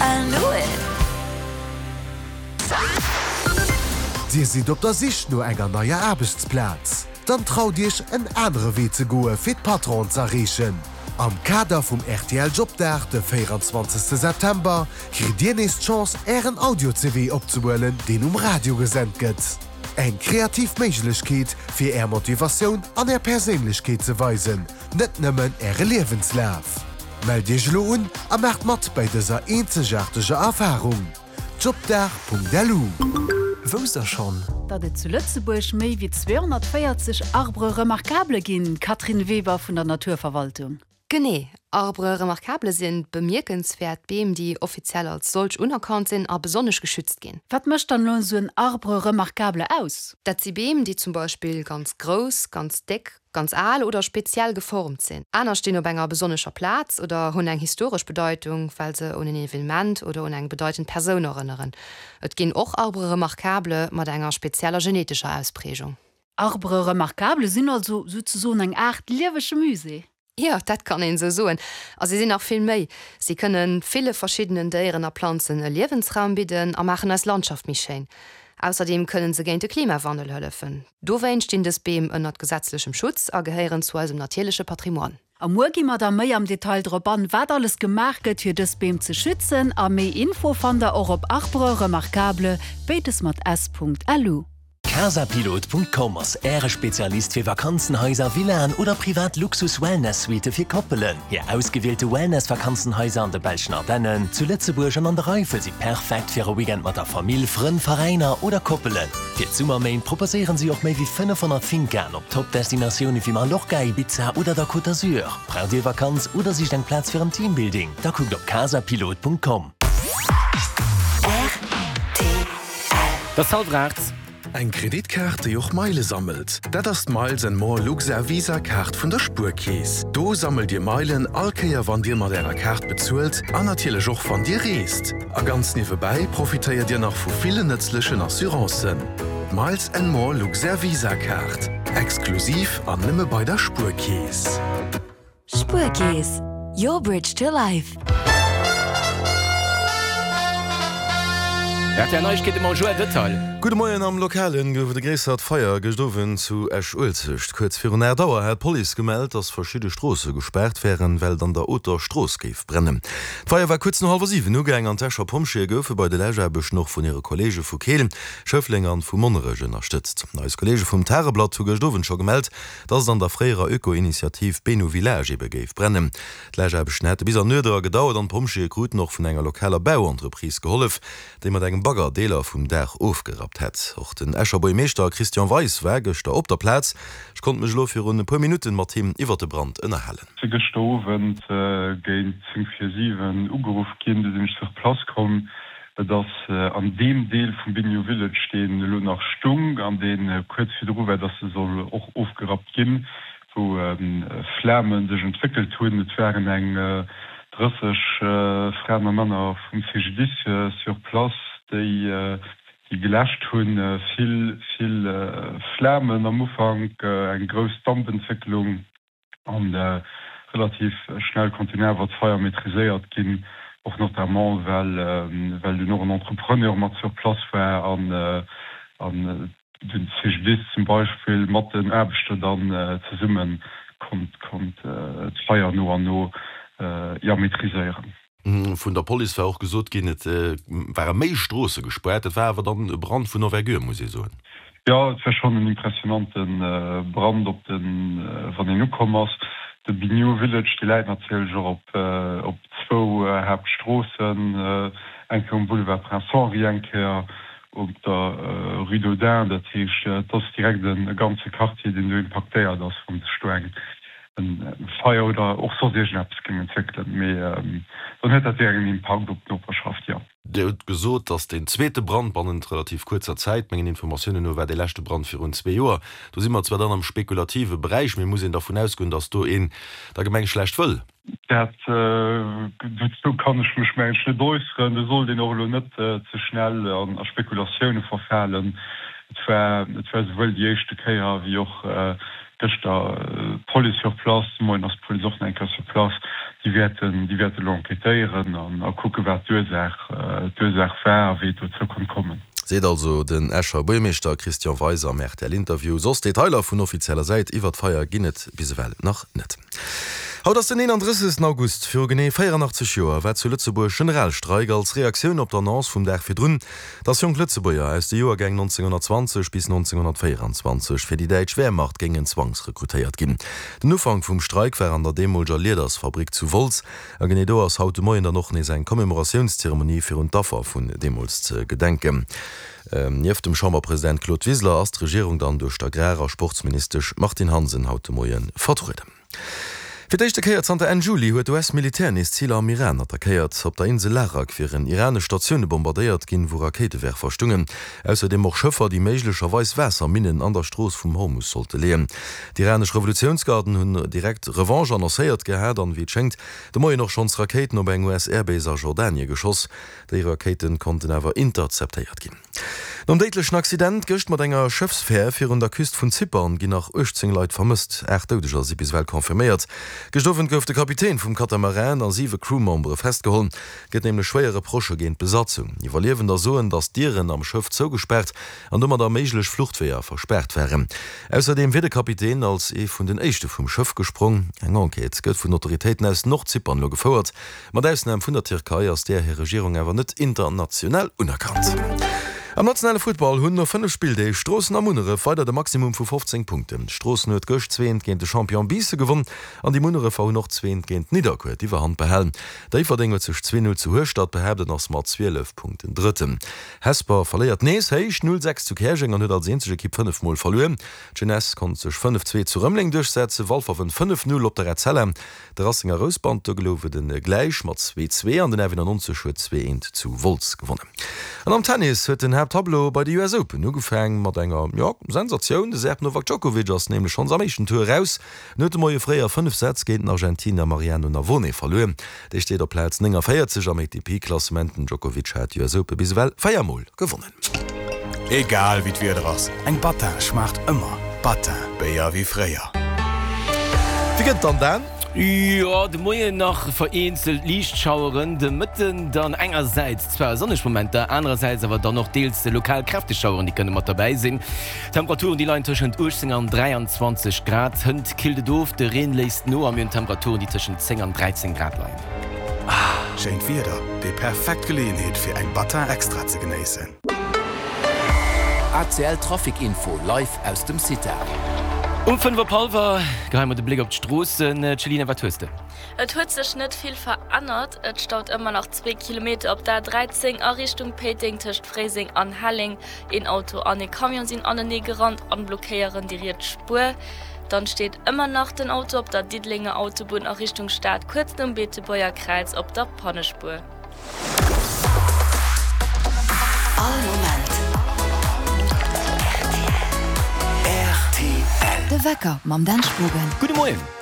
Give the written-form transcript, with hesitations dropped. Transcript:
I knew it! Dir sidd op der Sich no enger neier Aarbechtsplaz? Dann traut Iech en anere Wee ze goe fir d'Patronen z'erreechen. Am Kader vum rtl Jobdag de 24 September kritt Dir nees d'Chance Ären Audio-CV opzehuelen deen um Radio gesent gëtt. Eng kreativ Méiglechkeet fir Är Motivatioun an Är Perséinlechkeet ze weisen, net nëmmen Äre Liewenslaf. Mellt Iech elo un a maacht mat bäi dëser eenzegaarteger Erfarung. Jobdag.lu. Wousst der schonn? Datt et zu Lëtzebuerg méi wéi 240 Arbres remarquables ginn, Catherine Weber vun der Naturverwaltung. Genee, Arbres remarquables sinn bemierkenswäert Beem, déi offiziell als solch unerkannt sinn a besonnesch geschützt ginn. Wat mécht dann elo esou en Arbre remarquable aus? Dat si Beem, déi zum Beispill ganz grouss, ganz déck, ganz al oder speziell geformt sinn. Aner stinn op enger besonnescher Plaz oder hunn eng historesch Bedeitung, well se un en Evenement oder un eng bedeitend Persoun erënneren. Et ginn och Arbres remarquables mat enger spezieller genetescher Ausprägung. Arbres remarquables sinn also souzesoen eng Aart liewege Musée. Jo, dat kann een esou soen. A si sinn nach vill méi. Si kënne ville verschiddenen Déieren a Planzen e Liewensraum bidden a maachen eis Landschaft méi schéin. Ausserdeem kënnen se géint de Klimawandel hëllefen. Dowéinst stinn dës Beem ënnert gesetzlechem Schutz a gehéieren zu eisem natierleche Patrimoine. A muer gi mer da méi am Detail drop an, wat alles gemaach gëtt, fir dës Beem ze schützen. A méi Info fannt der och op arbresremarquables, béides mat s.lu. Casapilot.com ass Äre Spezialist fir Vakanzenhaiser, Villaen oder privat Luxus-Wellness-Suitte fir Koppelen. Hir ausgewielte Wellness-Vakanzenhaiser an de belschen Ardennen, zu Lëtzebuerg an an der Eifel si perfekt fir e Weekend mat der Famill, Frënn, Veräiner oder Koppelen. Fir d'Summerméint proposéieren si och méi wéi 500 Fincaen op Top-Destinatioune wéi Mallorca, Ibiza oder der Côte d'Azur. Braucht Dir Vakanz oder sicht eng Plaz fir en Teambuilding? Da kuckt op casapilot.com. Et ass hallwer 8. Eng Kreditkaart, déi och Meile sammelt, dat ass d'Miles and More Luxair Visa Kaart vun der Spuerkeess. Do sammelt Dir Meilen all Kéier wann Dir mat Ärer Kaart bezuelt an natierlech och wann Dir reest. A ganz niewebäi profitéiert Dir nach vu villen nëtzlechen Assurancen. D'Miles and More Luxair Visa Kaart, exklusiv an nëmme bei der Spuerkeess. Spuerkeess, your bridge to life. Rtl Neiegkeete mam Joël Detail. Gudde Moien, Am Lokalen gouf et e gréissert Feier gëscht Owend zu Esch-Uelzecht. Kuerz virun 8 Auer hat d'Police gemellt, dass verschidde Stroosse gespaart wären, well et an der Oter Strooss géif brennen. D'Feier war kuerz no hallwer 7 ugaang an d'Escher Pompjeeë goufe bei de Läschaarbechten och vun hire Kolleege vu Keel, Schëffleng an vu Monnerech ënnerstëtzt. Eis Kolleege vum Tageblatt hu gëscht Owend scho gemellt, dass et an der fréierer Öko-Initiativ Benu Village ebe géif brennen. D'Läschaarbechten hätte bis an d'Nuet era gedauert an d'Pompjeeë kruten och vun enger lokaler Bauentreprise gehollef, déi mat engem Bagger Deeler vum Daach ofgerappt hätt. Och den Escher Buergmeeschter Christian Weis war gëschter op der Plaz. Ech konnt mech elo virun e puer Minutten mat him iwwert de Brand ënnerhalen. Si gëschter Owend géint 10 vir 7 ugeruff ginn. Du sinn ech sur place komm. Et ass an deem Deel vum Bignou Village, deen elo nach stung an dee kuerz virdru war, dass e soll och ofgerappt ginn, wou Flame sech entwéckelt hunn. Et waren eng 30 Fraen a Männer vum CGDIS sur place, déi déi geläscht hunn. Vill, vill Flamen am Ufank, eng grouss Dampentwécklung. An relativ schnell konnt dunn awer d'Feier maîtriséiert ginn, och notamment well well dunn och en Entrepreneur mat sur place war an an den CGDIS zum Beispill mat den Aarbechter dann zesumme konnt konnt d'Feier no an no, jo, maîtriséieren. Vun der Police war och gesot ginn, et ware méi Stroosse gespaart. Et war awer dann e Brand vun Envergure, muss ee soen. Jo, et war schonn en impressionante Brand, op de wann een ukomm ass. De Bignou Village, dee läit natierlech och op op zwou Haaptstroossen, eng Kéier um Boulevard Prince Henri, eng Kéier op der Rue d'Audun. Dat heescht, et ass direkt e ganze Quartier, deen do impaktéiert ass, wann sech do eng e Feier oder och soss iergendeppes géing entwéckelen, mee dann huet dat direkt en Impakt op d'Noperschaft, jo. Dir hutt gesot, dass deen zweete Brand bannent relativ kuerzer Zäit, mengen Informatiounen no war dee leschte Brand virun zwee Joer, do si mer zwar dann am spekulative Beräich, mee muss een dervun ausgoen, dass do een der Gemeng schlecht wëll? Dat, dozou kann ech mech mengen ech net äusseren. Do sollt een och elo net ze schnell a Spekulatioune verfalen. Et war, et war souwuel déi éischte Kéier wéi och gëschter d'Police sur place, de Moien ass d'Police och nach eng Kéier sur place. Déi wäerten, déi wäerte elo enquêtéieren an a kucken, wat d'Ursaach, d'Ursaach war a wéi et dozou konnt kommen. Seet also den Escher Buergermeeschter Christian Weis am RTL-Interview. Soss Detailer vun offizieller Säit iwwer d'Feier ginn et bis ewell nach net. Haut ass den 31. August. Viru genee 84 Joer war zu Lëtzebuerg Generalstreik als Reaktioun op d'Annonce vum Dag virdrun, dass jonk Lëtzebuerger aus de Joergäng 1920 bis 1924 fir déi däitsch Wehrmacht géingen zwangsrekrutéiert ginn. Den Ufank vum Streik war an der deemolger Liedersfabrik zu Wolz a genee do ass haut de Moien dann och nees eng Commémoratiounszeremonie fir un d'Affer vun deemools ze gedenken. Nieft dem Chamberpresident Claude Wiseler ass d'Regierung dann duerch d'Agrar a Sportsministesch Martine Hansen haut de Moie vertrueden. Fir d'éischte Kéier zanter Enn Juli huet d'US-Militär nees Ziler am Iran attackéiert. Op der Insel Larak wieren iranesch Statioune bombardéiert ginn, wou Rakéitewerfer stungen. Ausserdeem och Schëffer, déi méiglecherweis Waasserminnen an der Strooss vum Hormus sollte leeën. D'iranesch Revolutiounsgarden hunn direkt Revanche annoncéiert gehat an, wéi et schéngt, de Moien och schonns Rakéiten op eng US-Airbase a Jordanie geschoss. Déi Rakéite konnten awer interzeptéiert ginn. Nom déidlechen Accident gëscht mat enger Schëffsfär virun der Küst vun Zypern ginn nach 18 Leit vermësst. 8 Doudeger si bis ewell confirméiert. Gëscht Owend gouf de Kapitän vum Katamaran a 7 Crewmembere festgeholl. Et gëtt nämlech schwéier Reprochë géint d'Besatzung. Iwwerliewender soen, datt d'Dieren am Schëff zougespaart an domadder méiglech Fluchtweeër verspaart waren. Ausserdeem wier de Kapitän als ee vun den éischte vum Schëff gesprong. Eng Enquête gëtt vun den Autoritéiten aus Nordzypern elo gefouert. Mat Ausnam vun der Tierkei ass där hir Regierung awer net international unerkannt. Am nationale Futtball hunn no 5 Spilldeeg Stroossen a Munneref weider de Maximum vu 15 Punkten. Stroossen huet gëscht zweent géint de Champion Biissen gewonn an déi Munnerefer hunn och zweent géint Nidderkuer d'Iwwerhand behalen. Déifferdeng huet sech 2, 0 zu Hueschtert behaapt an ass mat 12 Punkten Drëtten. Hesper verléiert nees héich 0, 6 zu Käerjeng an huet als eenzeg Ekipp 5 Mol verluer. D'Jeunesse konnt sech 5, 2 zu Rëmeleng duerchsetzen, Walfer wënnt 5, 0 op der Etzella. De Racing a Rouspert, do gouf et e gläich mat 2, 2 an den F91 huet 2, 1 zu Wolz gewonnen. An am Tennis huet den Haapttableau bei de US Open ugefaang mat enger, jo, Sensatioun. De Serb Novak Djokovic ass nämlech schonns am éischten Tour eraus. En huet de Moie fréi a 5 Sätz géint den Argentiner Mariano Navone verluer. Dee steet op Plaz 49 am ATP-Klassement. Den Djokovic hat d'US Open bis ewell 4 Mol gewonnen. Egal wéi d'Wieder ass, eng Battin schmaacht ëmmer. Battin, Béier wéi fréier. Wéi gëtt et dann, Dan? Jo, de Moien nach vereenzelt liicht Schaueren, de Mëtten dann engersäits zwar sonneg Momenter, anerersäits awer dann och deels lokal kräfteg Schaueren, déi kënne mat derbäi sinn. D'Temperaturen, déi leien tëschent 18 an 23 Grad. Hënt killt et of, de Reen léisst no a mir hunn Temperaturen, déi tëschent 10 an 13 Grad leien. Schéint Wieder, déi perfekt Geleeënheet fir eng Battin Extra ze genéissen. ACL Trafic Info live aus dem CITA. Um 5 op hallwer geheie mer de Bléck op d'Stroossen. Céline, wat hues de? Et huet sech net vill verännert. Et staut ëmmer nach zwee Kilometer op der A13 a Richtung Péiteng tëscht Fréiseng an Helleng. Een Auto an ee Camion sinn anenee gerannt an blockéieren déi riets Spuer. Dann steet ëmmer nach den Auto op der Diddelenger Autobunn a Richtung Stad kuerz nom Beetebuerger Kräiz op der Pannespuer. All Moment rtl. De Wecker mam Dan Spogen. Gudde Moien.